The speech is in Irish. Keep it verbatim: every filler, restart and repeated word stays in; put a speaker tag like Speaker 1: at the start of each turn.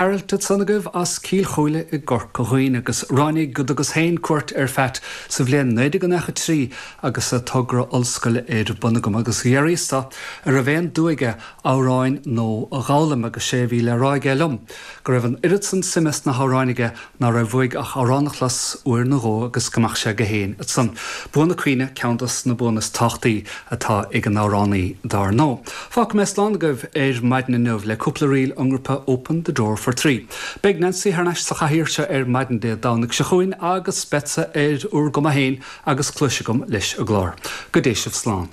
Speaker 1: Aralt ansan agaibh as Cill Chúile i gCorca Dhuibhne agus ráinig go dtugas féin cuairt ar Phat sa bhliain naoi déag nócha trí agus a togra ollscoile ar bun agam agus d'fhiafraíos de an raibh aon dua aige amhráin nua a dh'fhoghlaim agus sé a bhí le rá aige liom go raibh an oiread san suime sna hamhráin aige ná raibh uaidh ach amhrán a chlos uair nó dhó agus go mbeadh sé aige féin ansan. Bua na cuimhne ceann dos na buanna is tábhachtaí atá ag an amhránaí dar ndóigh. Fágfaidh mé slán agaibh ar maidin inniu le cúpla ríl ón ngrúpa Open the Door for Three. Beidh Nancy thar n-ais sa chathaoir seo ar maidin Dé Domhnaigh seo chugainn agus beidh ar ur gcuma féin agus cluis agam leis an gclár. Go dté sibh slán.